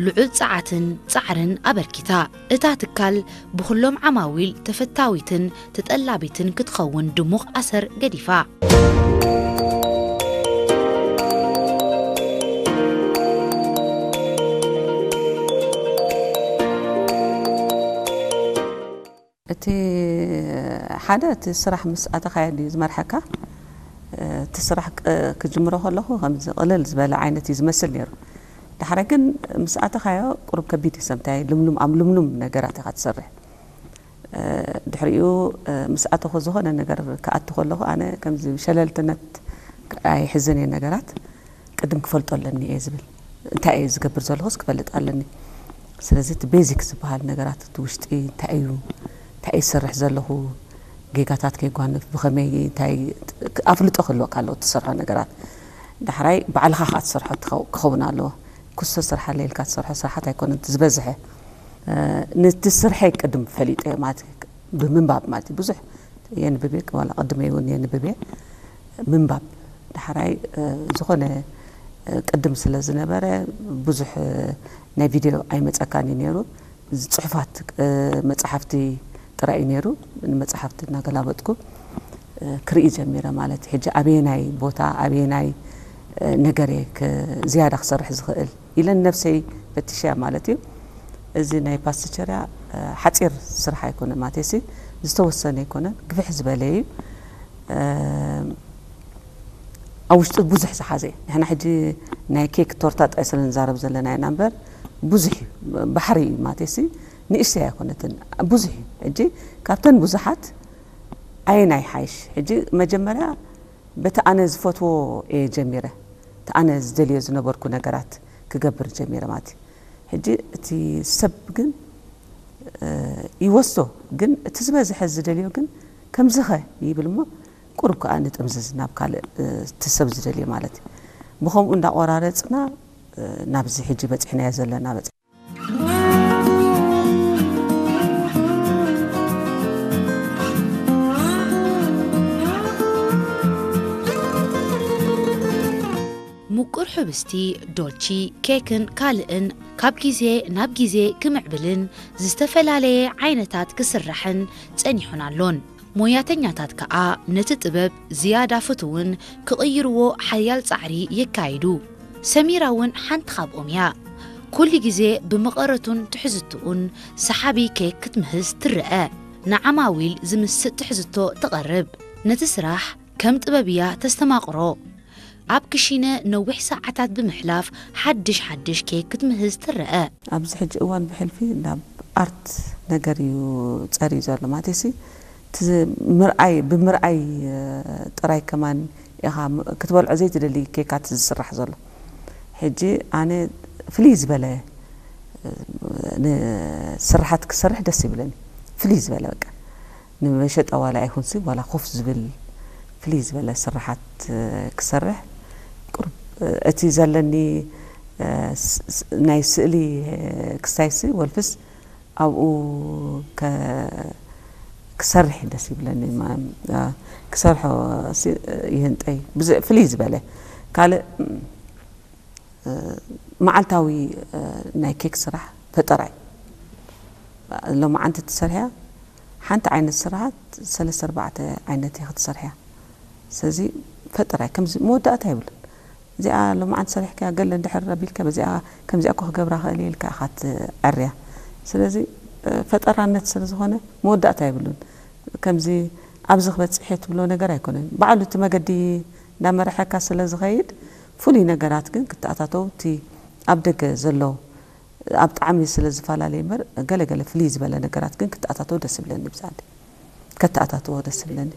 ልዑል ጸዓትን ጻዕርን ኣበርኪታ። እታ ትካል ብኹሎም ዓማዊል ተፈታዊትን ተጠላቢትን ክትኸውን ድሙቕ ኣሰር ገዲፋ። እቲ ሓደ እቲ ስራሕ ምስ ኣተኻዮ ድዩ ዝመርሐካ? እቲ ስራሕ ቅ- ክጅምሮ ከለኹ ከምዚ ቅልል ዝበለ ዓይነት እዩ ዝመስል ነይሩ። ዳሕረ ግን ምስ ኣተኻዮ ቁሩብ ከቢድ እዩ። ሰምታይ ልምሉም ኣብ ልምሉም ነገራት ኢኻ ትሰርሕ። ድሕሪኡ ምስ ኣተኹ ዝኾነ ነገር ክኣቱ ከለኹ ኣነ ከምዚ ሸለልትነት ኣይሕዝን እየ። ነገራት ቅድም ክፈልጦ ኣለኒ እየ ዝብል። እንታይ እየ ዝገብር ዘለኹስ ክፈልጥ ኣለኒ። ስለዚ እቲ ቤዚክ ዝበሃል ነገራት እቲ ውሽጢ እንታይ እዩ፣ እንታይ እየ ዝሰርሕ ዘለኹ፣ ጌጋታት ከይጓንፍ ብኸመይ እንታይ ኣፍልጦ ክህልወካ ኣለዎ እትሰርሖ ነገራት። ዳሕራይ ባዕልኻ ከዓ ትሰርሖ ትኸው- ክኸውን ኣለዎ። ክስቶ ስራሕ ኣለ ኢልካ ትሰርሖ ስራሓት ኣይኮነን እቲ ዝበዝሐ። ነቲ ስርሐይ ቅድም ፈሊጠ ማለት ብምንባብ ማለት እዩ። ብዙሕ የንብብ እየ፣ ዋላ ቅድመይ እውን የንብብ እየ። ምንባብ ዳሕራይ ዝኾነ ቅድም ስለ ዝነበረ ብዙሕ ናይ ቪድዮ ኣይመፀካን እዩ ነይሩ። ጽሑፋት መፅሓፍቲ ጥራይ እዩ ነይሩ። ንመፅሓፍቲ እናገላበጥኩ ክርኢ ጀሚረ ማለት እዩ። ሕጂ ኣበየናይ ቦታ ኣበየናይ ነገር እየ ክ- ዝያዳ ክሰርሕ ዝኽእል ኢለ ንነብሰይ ፈቲሸያ ማለት እዩ። እዚ ናይ ፓስቸርያ ሓፂር ስራሕ ኣይኮነ ማለትሲ ዝተወሰነ ኣይኮነን፣ ግፍሕ ዝበለ እዩ። ኣብ ውሽጡ ብዙሕ ዝሓዘ እዩ። ንሕና ሕጂ ናይ ኬክ ቶርታ ጥራይ ስለ ንዛረብ ዘለና ኢና እምበር ብዙሕ እዩ። ባሕሪ እዩ ማለትሲ ንእሽተይ ኣይኮነትን፣ ብዙሕ እዩ። ሕጂ ካብተን ብዙሓት ኣየናይ ሓይሽ? ሕጂ መጀመርያ በቲ ኣነ ዝፈትዎ እየ ጀሚረ። እቲ ኣነ ዝደልዮ ዝነበርኩ ነገራት ክገብር ጀሚረ ማለት እዩ። ሕጂ እቲ ሰብ ግን ይወስዶ፣ ግን እቲ ዝበዝሐ ዝደልዮ ግን ከምዚ ኸ ይብል እሞ ቁሩብ ከዓ ንጥምዝዝ ናብ ካልእ እቲ ሰብ ዝደልዮ ማለት እዩ። ብኸምኡ እንዳቆራረፅና ናብዚ ሕጂ በፂሕናዮ ዘለና በፂ ምቁር ሕብስቲ፣ ዶልቺ፣ ኬክን ካልእን ካብ ግዜ ናብ ግዜ ክምዕብልን ዝተፈላለየ ዓይነታት ክስራሕን ጸኒሑን ኣሎን። ሞያተኛታት ከኣ ነቲ ጥበብ ዝያዳ ፍቱውን ክቕይርዎ ሓያል ጻዕሪ የካይዱ። ሰሚራ እውን ሓንቲ ካብኦም እያ። ኩሉ ግዜ ብመቐረቱን ትሕዝትኡን ሰሓቢ ኬክ ክትምህዝ ትረአ። ንዓማዊል ዝምስጥ ትሕዝቶ ተቐርብ። ነቲ ስራሕ ከም ጥበብ እያ ተስተማቕሮ። ኣብ ክሽነ ነዊሕ ሰዓታት ብምሕላፍ ሓድሽ ሓድሽ ኬክ ክትምህዝ ትረአ። ኣብዚ ሕጂ እዋን ብሕልፊ ናብ ኣርት ነገር እዩ ጸርዩ ዘሎ ማለትሲ እቲ ምርኣይ ብምርኣይ ጥራይ ከማን ኢኻ ክትበልዖ ዘይትደሊ ኬካት ዝስራሕ ዘሎ። ሕጂ ኣነ ፍልይ ዝበለ ንስርሓት ክሰርሕ ደስ ይብለኒ። ፍልይ ዝበለ በቃ ንመሸጣ ዋላ ኣይኹንሲ ዋላ ኮፍ ዝብል ፍልይ ዝበለ ስርሓት ክሰርሕ ቁሩብ እቲ ዘለኒ ናይ ስእሊ ክስታይሲ ወልፍስ ኣብኡ ክሰርሕ ደስ ይብለኒ። ክሰርሖ ይህንጠይ ፍልይ ዝበለ ካልእ መዓልታዊ ናይ ኬክ ስራሕ ፈጠራ እዩ። ሎማዓንቲ ትሰርሕያ ሓንቲ ዓይነት ስራሓት ሰለስተ ኣርባዕተ ዓይነት ኢኺ ትሰርሕያ። ስለዚ ፈጠራ እዩ። ከምዚ መወዳእታ የብሉን። እዚኣ ሎማዓንቲ ሰሪሕካያ ገለ እንድሕር ኣቢልካ በዚኣ ከምዚኣ እኮ ክገብራ ክእል እየ ኢልካ ኢኻ ትዐርያ። ስለዚ ፈጠራነት ስለ ዝኾነ መወዳእታ የብሉን። ከምዚ ኣብዚ ክበፅሕ እየ ትብሎ ነገር ኣይኮነን። ባዕሉ እቲ መገዲ እንዳመረሐካ ስለ ዝኸይድ ፍሉይ ነገራት ግን ክተኣታተው እቲ ኣብ ደገ ዘሎ ኣብ ጣዕሚ ስለ ዝፈላለየ እምበር ገለ ገለ ፍልይ ዝበለ ነገራት ግን ክተኣታተው ደስ ይብለኒ። ብዛዕዲ ከተኣታትዎ ደስ ይብለኒ።